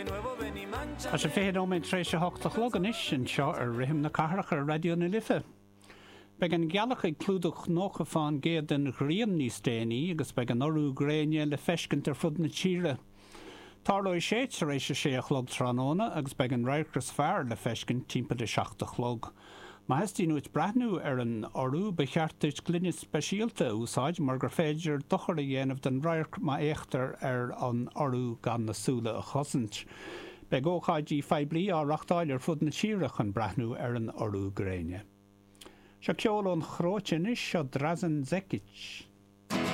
Tá sé 20 nóiméad tar éis a hocht a chlog anois anseo ar Rithim na Cathrach ar Raidió na Life. Beidh an ghealach ag clúdach 90 fán gcéad den ghrian níos déanaí agus beidh an urú gréine le feiscint ar fud na tíre. Tarlóidh sé tar éis a sé a chlog tráthnóna agus beidh an radharc is fearr le feiscint timpeall a 7 a chlog. Má theastaíonn uait breathnú ar an urú, ba cheart duit gloine speisialta a úsáid mar gur féidir dochar a dhéanamh don radharc má fhéachtar ar an urú gan na súile a chosaint. Beidh ócáidí poiblí á reachtáil ar fud na tíre chun breathnú ar an urú gréine. Seo ceol ón Chróit anois, seo Drazen Zekic.